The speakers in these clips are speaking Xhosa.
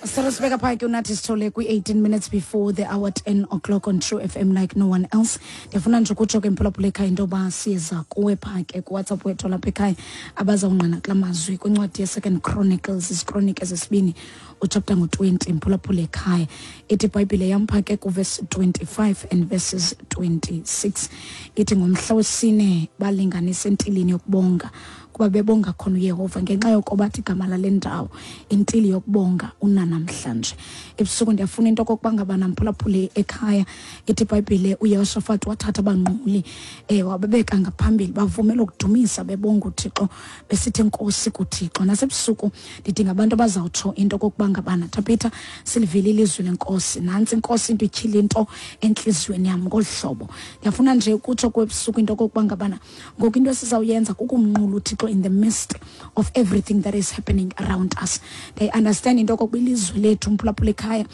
Sicela sibeka phaya ke unathi Sithole kwi-18 minutes before the hour 10 o'clock on True FM like no one else. Ndiyafuna nje ukutsho ke mphulaphula ekhaya into yoba siyeza kuwe phaa ke kuWhatsApp wethu lapha ekhaya abazawungqina kula mazwi kwincwadi yeSecond Chronicles, iziKronike zesibini, uchapter ngo-20 mphulaphula ekhaya. Ithi iBhayibhile yam phaa ke kuvesi 25 and verses 26. Ithi ngomhla wesine balinganisa entilini yokubonga kuba bebonga khona uYehova ngenxa yoko bathi igama lale ndawo intili yokubonga unanamhlanje. Ebusuku ndiyafuna into okokuba ngaba namphulaphule ekhaya. Ithi iBhayibhile uYehoshafati wathatha abanquli wababeka ngaphambili bavumela ukudumisa bebonga uThixo besithi enkosi kuThixo. Nasebusuku ndidinga abantu abazawutsho into okokuba ngabana Tabitha silivile ilizwi lenkosi, nantsi inkosi into ityhila into entliziyweni yam ngolu hlobo. Ndiyafuna nje ukutsho kwebusuku into okokuba ngabana ngoku into esizawuyenza kukumnqula uThixo in the midst of everything that is happening around us. They understand into okokuba ilizwe lethu mphulaphula ekhaya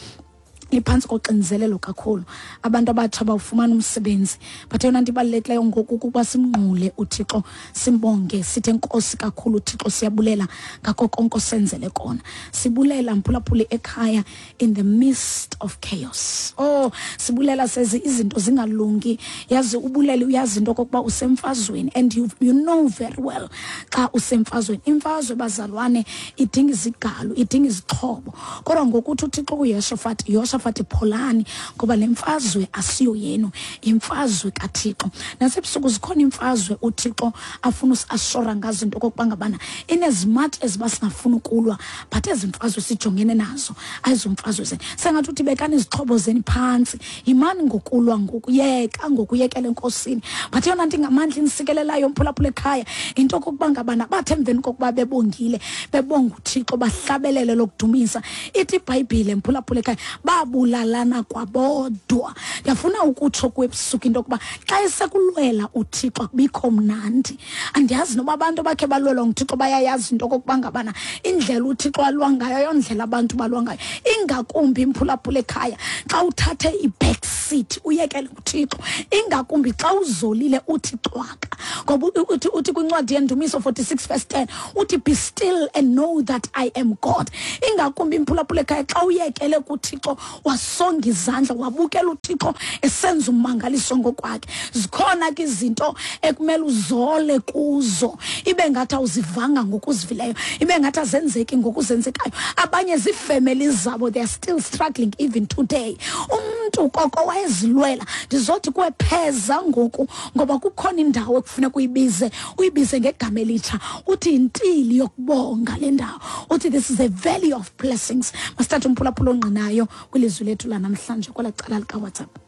liphantsi koxinzelelo kakhulu, abantu abatsha bawufumana umsebenzi, but eyona nto ibalulekileyo ngoku kukuba simnqule uThixo, simbonge, sithi enkosi kakhulu uThixo, siyabulela ngako konke osenzele kona. Sibulela mphulaphuli ekhaya in the midst of chaos. Oh, sibulela sezi izinto zingalungi. Yazi ubulele uyazi into okokuba usemfazweni and you know very well xa usemfazweni. Imfazwe bazalwane idinga izigalo, idinga izixhobo. Kodwa ngokuthi uThixo kuYehoshafati, Yehoshafati pholani ngoba le mfazwe asiyo yenu, imfazwe kaThixo. Nasebusuku zikhona imfazwe uThixo afuna usiashora ngazo into okokuba ngabana in as much as basingafuni ukulwa, but ezi mfazwe sijongene nazo ayizomfazwe zenu. Sengathi uthi bekani izixhobo zenu phantsi, yimani ngokulwa ngokuyeka ngokuyekela enkosini. But eyona nto ingamandla inisikelelayo mphulaphula ekhaya into okokuba ngabana bathe emveni kokuba bebongile, bebonga uThixo, bahlabelele lokudumisa. Ithi iBhayibhile mphulaphula ekhaya babulalana kwabodwa. Ndiyafuna ukutsho kwebusuku into yokuba xa esekulwela uThixo akubikho mnandi. Andiyazi noba abantu abakhe balwelwa nguThixo bayayazi into okokuba ngabana indlela uThixo alwa ngayo ayondlela abantu balwa ngayo. Ingakumbi imphulaphula ekhaya xa uthathe i-back seat uyekele uThixo, ingakumbi xa uzolile uthi cwaka. Ngoba uthi kwincwadi yeNdumiso 46 verse 10 uthi be still and know that I am God. Ingakumbi imphulaphula ekhaya xa uyekele kuThixo wasonga izandla wabukela uThixo esenza ummangaliso ngokwakhe. Zikhona ke izinto ekumele uzole kuzo, ibe ngathi awuzivanga ngokuzivileyo, ibe ngathi azenzeki ngokuzenzekayo. Abanye ziifemeli zabo, they are still struggling even today. Umntu koko wayezilwela. Ndizothi kwepheza ngoku ngoba kukhona indawo ekufuneka uyibize, uyibize ngegama elitsha, uthi yintili yokubonga le ndawo, uthi this is a valley of blessings. Masithathe umphulaphula ongqinayo kwilizwi lethu lanamhlanje kwela cala likaWhatsApp.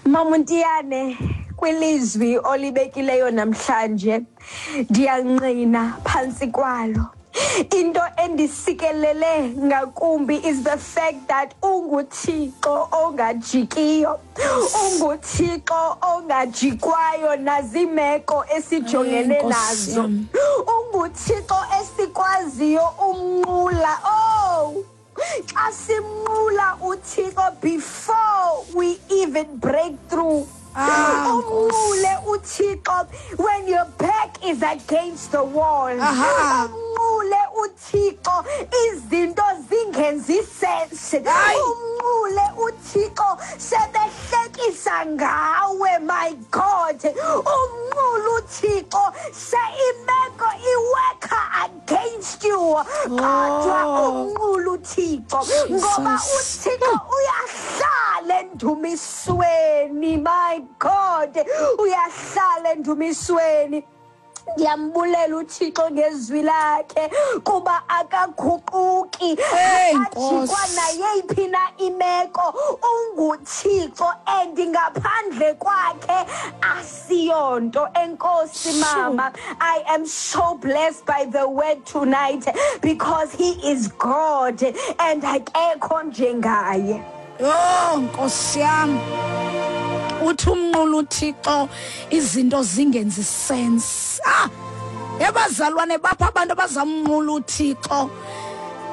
Mamuntiyane, kwilizwi olibekileyo namhlanje ndiyangqina phantsi kwalo. Into endisikelele ngakumbi is the fact that unguThixo ongajikiyo, unguThixo ongajikwayo nazimeko esijongene nazo, unguThixo esikwaziyo umnqula. Oh, xa simnqula uThixo before we even break through. Umnqule uThixo when your back is against the wall. Umnqule uThixo izinto zingenzi sense. Umnqule uThixo sebehlekisa ngawe, my God. Umnqule uThixo se imeko iweka against you. Kodwa umnqule uThixo ngoba uThixo uyahlala endumisweni, my God, uyahlala endumisweni. Ndiyambulela uThixo ngezwi lakhe kuba akaguquki, akajikwa nayeyiphi na imeko. UnguThixo and ngaphandle kwakhe asiyonto. Enkosi mama, I am so blessed by the word tonight because he is God and akekho njengaye. Oh Nkosi yam, uthi umnqula uThixo izinto zingenzi sense. Ebazalwane bapha abantu abazamnqula uThixo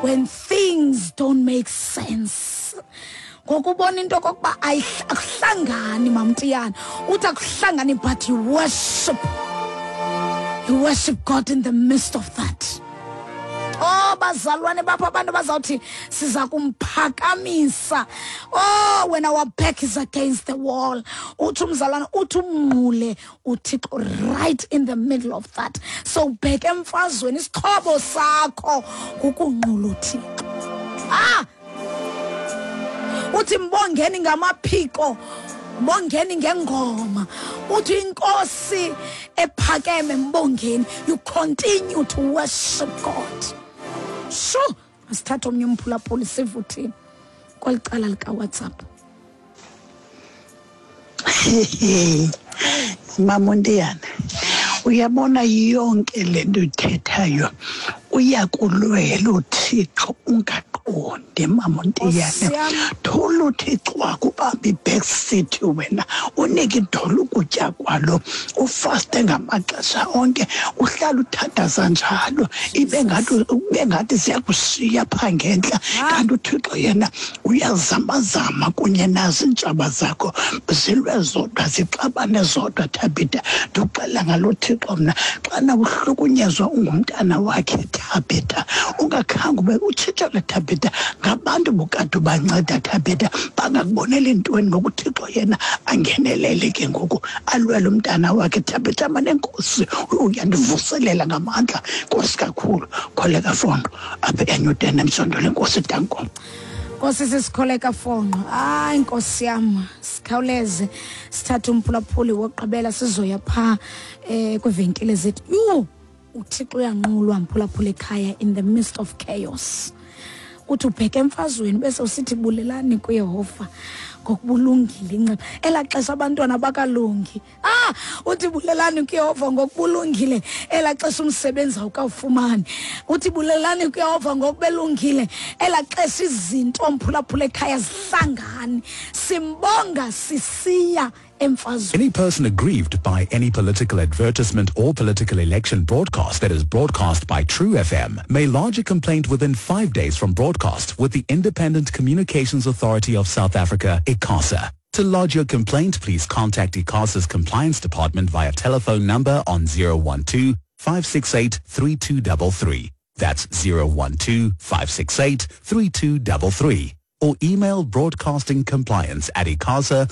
when things don't make sense. Ngokubona into okokuba akuhlangani mamntiyana, uthi akuhlangani, but you worship. You worship God in the midst of that. Oh bazalwane, bapho abantu bazawuthi siza kumphakamisa. Oh, when our back is against the wall, uthi umzalwane uthi umnqule uThixo right in the middle of that. So bheke emfazweni, isixhobo sakho kukunqula uThixo. Ah, uthi mbongeni ngamaphiko, mbongeni ngengoma, uthi inkosi ephakeme mbongeni. You continue to worship God. Sho, asithathe omnye umphulaphuli sivuthini kweli cala likaWhatsApp. Mama uNtiyana, uyabona yonke le nto ithethayo, uyakulwela uThixo ungaqondi. Mama uNtiyane, thula uThixo wakubamba i-back seat wena, unike idolo ukutya kwalo, ufaste ngamaxesha onke, uhlala uthandaza njalo, ibe ngathi ziyakushiya phaa ngentla, kanti uThixo yena uyazamazama kunye nazo iintshaba zakho, zilwe zodwa, zixabane zodwa. Thabitha, ndikuxelela ngalo Thixo mna, xana uhlukunyezwa ungumntana wakhe Thabitha, ungakhange ube utshitshelwe Thabitha ngabantu bokade ubanceda Thabitha, bangakuboneli ntweni ngoku uThixo yena angenelele ke ngoku alwele umntana wakhe Thabitha. Manenkosi, uyandivuselela ngamandla, Nkosi kakhulu. Kholeka Fondo apha eNewton emsondolo. Enkosi, danko. Nkosi sisikholeka Fonqo. Hayi nkosi yam, sikhawuleze sithathe umphulaphuli wokugqibela, sizoya phaa kwiivenkile zethu. Yhu, uThixo uyanqulwa mphulaphula ekhaya in the midst of chaos. Uthi ubheke emfazweni bese usithi bulelani kuYehova ngokubulungile inceba. Elaa xesha abantwana bakalungi. Ah, uthi bulelani kuYehova ngokubulungile elaa xesha umsebenzi awukawufumani. Uthi bulelani kuYehova ngokubelungile elaa xesha izinto mphulaphula ekhaya zihlangani. Simbonga sisiya emfazweni. Any person aggrieved by any political advertisement or political election broadcast that is broadcast by True FM may lodge a complaint within 5 days from broadcast with the Independent Communications Authority of South Africa, ICASA. To lodge your complaint, please contact ICASA's Compliance Department via telephone number on 012 568 3233. That's 012 568 3233. Or email broadcastingcompliance@icasa.